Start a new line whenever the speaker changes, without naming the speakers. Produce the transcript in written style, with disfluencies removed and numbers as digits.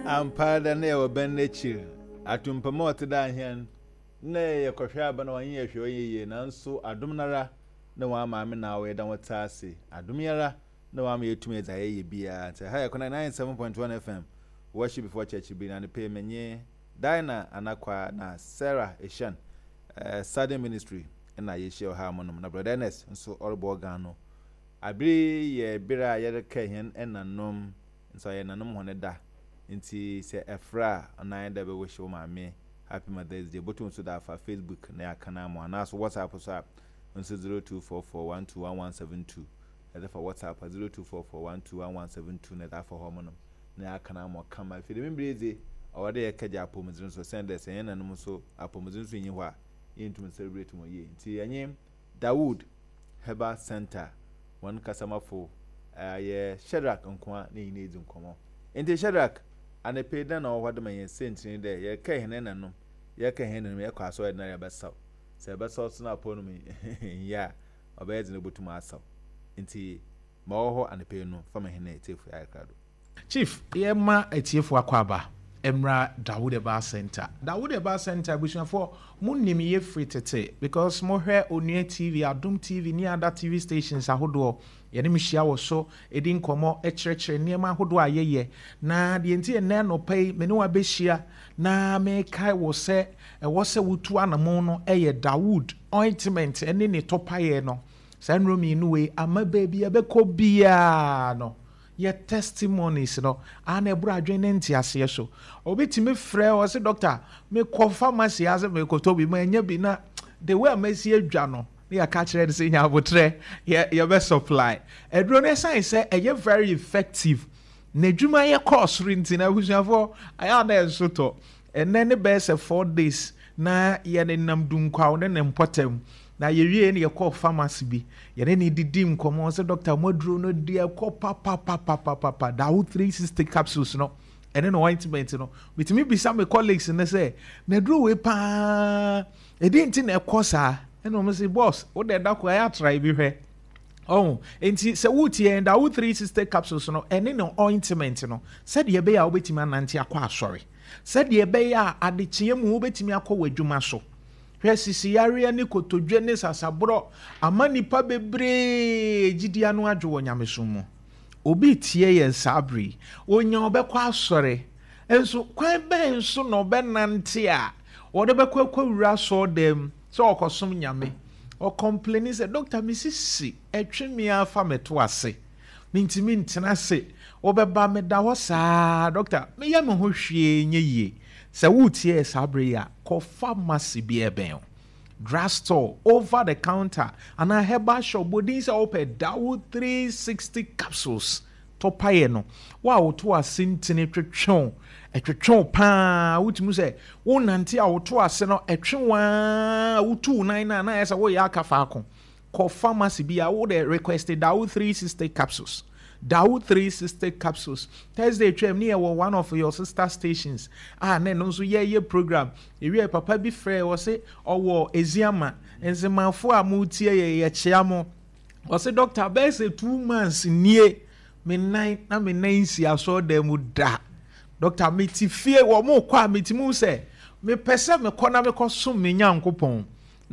Ampa dɛ na yɛwɔ bɛn n'ekyir, atumpam a ɔtse dɛ ahɛn, nna yɛkɔhwɛ aba na wɔnnyɛ hwee ɔnnyɛ yie, naaso adom noara na hɔn maame na awo yɛda hɔn tse ase, adom yi ara na ɔama yeetum yɛ dza yɛyɛ biara. Ntsi ha yɛ Kona 97.1 FM, Worship Before Church bi, na anapa yi menye Dinah Anakwa na Sarah Eshan, Sudden Ministry na yehyia wɔ ha monom, na Brɔda Ernest so ɔrobɔ organ no. Aber yi yɛ ber a yɛrekaa hɛn ɛnanom, ntsi ɔyɛ ɛnanom hɔn da, ntsi sɛ ɛfrɛ a ɔno ara nye dɛ ebɛwish wo maame Happy Mother's Day. Botum so dze afa Facebook na yɛaka no ama wo, anaa so WhatsApp so a nso 0244121172, edze fa WhatsApp a 0244121172 na edze afa hɔ monom na yɛaka no ama wo kama. Afei dɛm ber yi dze ɔwɔ dɛ yɛkɛgye apɔwmudzen so osiandɛ sɛ hɛn nanom so apɔwmudzen so nnyi hɔ a yenntum nncelebrate hɔn yie. Ntsi yɛnye Dawood Herbal Centre hɔn kasamafo yɛ Shadrack Nkoa na hɛn edzi nkɔmbɔ. Ntsi Shadrack, anapa yi dɛn na ɔwɔ hɔ dze ma hɛn? Siantsir nye dɛ yɛrekɛɛ hɛn nananom, yɛrekɛɛ hɛn nananom, yɛkɔ asɔr dɛn ara yɛbɛsaw. Sɛ yɛbɛsaw so na apɔw no mu nnyɛ a, ɔbɛyɛ dzen dɛ obotum asaw. Ntsi ma ɔwɔ hɔ anapa yi no, fa ma hɛn etsiefo yɛayɛ krado.
Chief, yɛma atiefo akwaaba mmra Dawood Herbal Centre. Dawood Herbal Centre abusuafoɔ mo nim yɛ firi tete because mo hwɛ Onua TV, Adom TV ne other TV stations ahodoɔ yɛne mo hyia wɔ so di nkɔmmɔ kyerɛkyerɛ nneɛma ahodoɔ a yɛyɛ. Na deɛ nti ɛnnɛ anɔpa yi me ne wo abɛhyia na mekae wo sɛ ɛwɔ sɛ wotu anamon no yɛ Dawood ointment ne ne tɔpaeɛ no. Saa nnuro mmienu wei ama baabi a ɛbɛkɔ biara no yɛ testimonies no a na ɛboro adwene ne nteaseɛ so. Obi tumi frɛ ɔse doctor mekɔ pharmacy ase mekɔtɔ bi manya bi na the way a masi adwa no na yɛaka kyerɛ no sɛ nya abotrɛ yɛ yɛbɛ supply aduro no. Ɛsan sɛ ɛyɛ very effective na adwuma yɛ kɔɔ soro nti na abusuafoɔ ayɛ a na ɛnso tɔ. Ɛnnɛ ne bɛyɛ sɛ 4 days na yɛnenam Dunkwaw ne ne mpɔtam, na yɛwiee no yɛkɔɔ pharmacy bi. Yɛne no didi nkɔmmɔ sɛ dɔkta mo aduro no deɛ ɛkɔ papapapapapa, Dawo 360 capsules no ɛne ne ointment no. Metumi bisa me colleagues no sɛ na aduro wei paa ɛdeɛ nti na ɛkɔ saa? Ɛna wɔn sɛ boss wo deɛ da ko ayɛ atra bi hwɛ. Ɔho nti sɛ wotie yɛn Dawo 360 capsules no ɛne ne ointment no sɛdeɛ ɛbɛyɛ a wobɛtumi anante akɔ asɔre. Sɛdeɛ ɛbɛyɛ a adekyeɛ mu wobɛtumi akɔ w'adwuma so. Hwɛ, sisiyareɛ ne kotodwe ne sasaborɔ ama nnipa bebree gyidie ano adwo wɔ nyamesom mu. Obi retie yɛn saa berɛ yi, ɔnya ɔbɛkɔ asɔre, nso kwan bɛn so na ɔbɛnante a ɔde bɛkɔ akɔwura asɔredan mu sɛ ɔrekɔsom Nyame? Ɔkɔmpleni sɛ, Dɔkta, me sisi twe me ara fa me to ase. Mentumi ntena ase. Wobɛba, meda hɔ saa. Dɔkta, meyɛ me ho hwee nyɛ yie. Sɛ woretie yɛ saa berɛ yi a, kɔ pharmacy bi a ɛbɛn wo, drug store, over the counter, anaa herbal shop, bɔ din sɛ wopɛ Dawo 360 capsules. Tɔ paeɛ no. Wo a woto ase ntini twetwe wo, ɛtwetwe wo pa ara, wotumi sɛ wonante a woto ase no, ɛtwe wo ara, wotu wo nan no a na ayɛ sɛ woreyɛ aka faako. Kɔ pharmacy bi a wo de request Dawo 360 capsules. Dawo 360 capsules. Thursday twam ne yɛwɔ one of your sister stations a na ɛno nso yɛyɛ program. Ewiɛ papa bi frɛ ɔse ɔwɔ Eziama. Nzemafo a motie yɛ yɛkyea mo. Ɔse doctor bɛyɛ sɛ 2 months nie me nan na me nan nsi asɔredan mu da. Doctor mete fie wɔ mo kɔ a metumi hu sɛ mepɛ sɛ mekɔ na mekɔ som me Nyankopɔn.